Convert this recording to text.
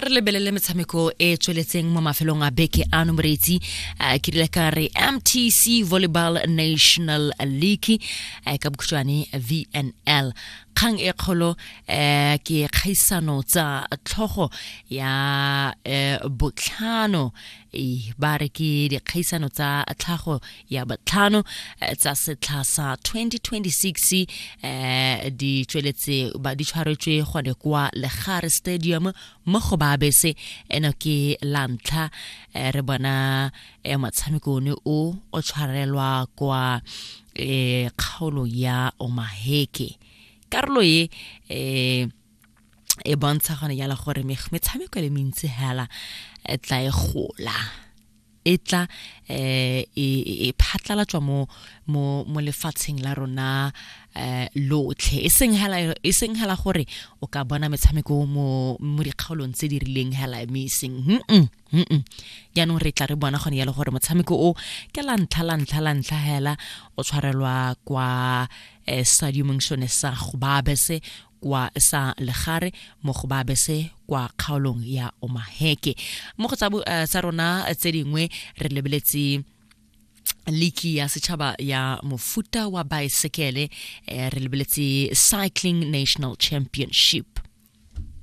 A re lebelele metshameko e tsweletseng mo mafelong a beke ano, moreetsi. Ke rile ka re MTC Volleyball National League, ka bokhutshwane VNL. Kgang e kgolo ke kgaisano tsa tlhogo ya botlhano. Ba re ke dikgaisano tsa tlhago ya botlhano tsa setlha sa 2026, di tsweletse ba di tshwaretswe gone kwa Legare Stadium mo go Babese. Eno ke la ntlha re bona motshameko one o o tshwarelwa kwa kgaolo ya Omaheke. Karolo e e bontsha gone jalo gore metshameko e le mentsi hela e tla e gola, e tla e phatlalatswa mo lefatsheng la rona lotlhe, e seng hela gore o ka bona metshameko mo dikgaolong tse di rileng hela, mme e seng. Jaanong re tla re bona gone yalo gore motshameko o ke la ntlha, la ntlha, la ntlha hela o tshwarelwa kwa stadiumeng sone sa Gobabese, kwa sa Legare mo Gobabese kwa kgaolong ya Omaheke. Mo go tsa rona tse dingwe re lebeletse liki ya setšhaba ya mofuta wa baesekele, re lebeletse Cycling National Championship.